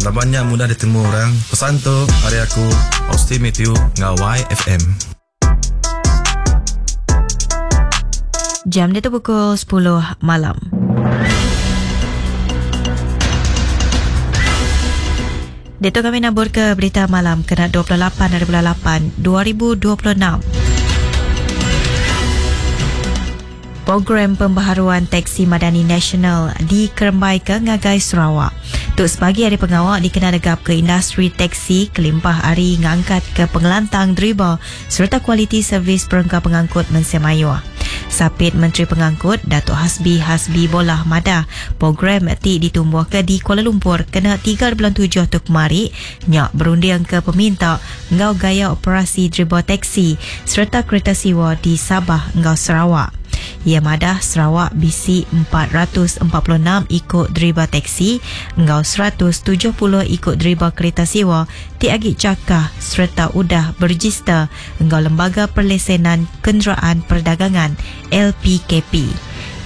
Laban nya mudah ditemu orang. Pesan tu ari aku, Austin Mathew enggau YFM. Jam diatu pukul sepuluh malam. Diatu kami naburka berita malam kena 28 hari bulan 8 2026. Program Pembaharuan Teksi Madani Nasional dikerembaika ngagai Sarawak. Tu sebagi ari pengawa dikena negapka industri teksi kelimpah ari ngangkatka pengelantang deriba sereta kualiti servis perengka pengangkut mensia mayuh. Sapit Menteri Pengangkut, Datuk Hasbi Hasbi Bolah madah, program ti ditumbuhka di Kuala Lumpur kena tiga bulan tujuh tu kemari nya berundingka peminta enggau gaya operasi deriba teksi sereta kereta siwa di Sabah enggau Sarawak. Iya madah Sarawak bisi 446 iku deriba teksi enggau 170 iku deriba kereta siwa ti agi chakah sereta udah berejister enggau Lembaga Perlesenan Kenderaan Perdagangan, LPKP.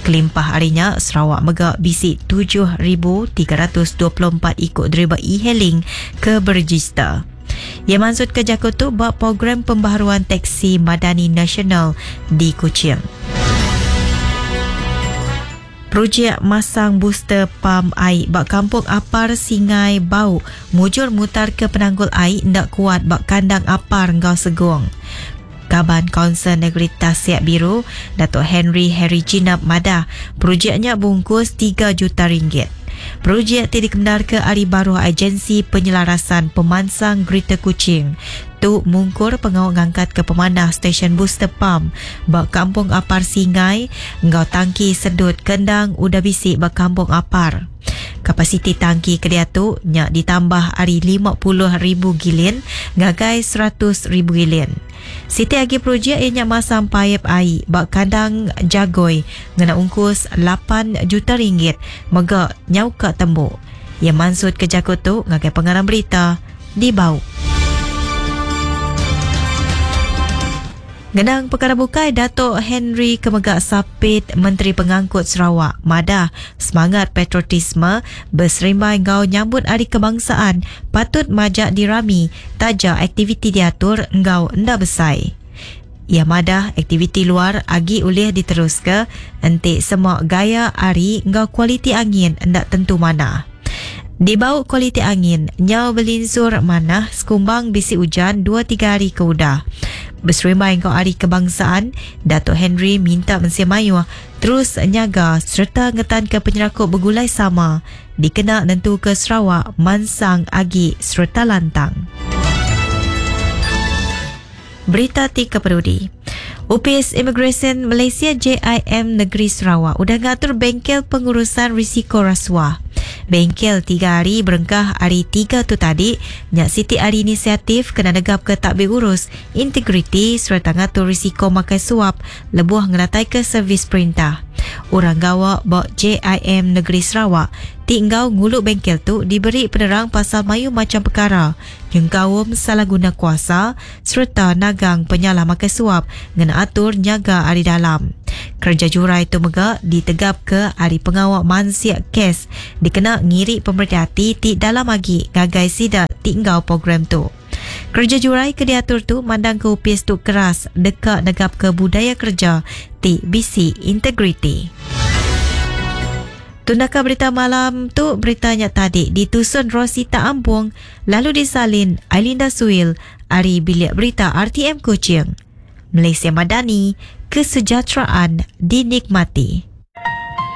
Kelimpah ari nya, Sarawak mega bisi 7,324 iku deriba e-hailing ke berejister. Iya mansutka jaku tu ba Program Pembaharuan Teksi Madani Nasional di Kuching. Projek masang booster pam ai ba Kampung Apar Singai Bau mujur mutarka penanggul ai enda kuat ba kandang Apar enggau Segong. Kaban Kaunsil Negeri Tasik Biru, Datuk Henry Harry Jinap madah, projek nya bungkus tiga juta ringgit. Projek ti dikemendarka ari baruh Agensi Penyelarasan Pemansang Greater Kuching tu mungkur pengawa ngangkatka pemanah stesyen booster pump ba Kampung Apar Singai enggau tangki sedut ke endang udah bisi ba Kampung Apar. Kapasiti tangki ke diatu nya ditambah ari 50,000 gilin ngagai 100,000 gilin. Siti agi projek iya nya masang paip ai ba kandang Jagoi ngena ungkus lapan juta ringgit mega nyauka tembu. Iya mansutka jaku tu ngagai pengarang berita di Bau. Ngenang pekara bukai, Datuk Henry ke mega Sapit Menteri Pengangkut Sarawak madah semangat patriotisme beserimbai enggau nyambut Hari Kebangsaan patut majak dirami taja aktiviti diatur enggau enda besai. Iya madah aktiviti luar agi ulih diteruska enti sema gaya hari enggau kualiti angin enda tentu manah. Dibau kualiti angin nyau belinsur manah sekumbang bisi ujan dua tiga hari ke udah. Beserimbai enggau Hari Kebangsaan, Datuk Henry minta mensia mayuh terus nyaga sereta ngetanka penyerakup begulai sama dikena nentuka Sarawak mansang agi sereta lantang. Berita ti kepenudi. Opis Imigresen Malaysia JIM Negeri Sarawak udah ngatur bengkel pengurusan risiko rasuah. Bengkel tiga hari berengkah ari tiga tu tadi nya siti ari inisiatif kena negapka takbir urus, integriti sereta ngatur risiko makai suap lebuh ngenataika servis perintah. Orang gawa ba JIM Negeri Sarawak ti enggau ngulu bengkel tu diberi penerang pasal mayuh macham pekara nyengkaum salah guna kuasa sereta nagang penyalah makai suap ngena atur nyaga ari dalam. Kereja jurai tu mega ditegapka ari pengawa mansik kes dikena ngiri pemereti ati ti dalam agi ngagai sida ti enggau program tu. Kereja jurai ke diatur tu mandangka opis tu keras deka negapka budaya kereja ti bisi integriti. Tundaka berita malam tu berita nya tadi ditusun Rosita Ampung lalu disalin Ailinda Suil ari Bilik Berita RTM Kuching. Malaysia Madani, Kesejahteraan Dinikmati.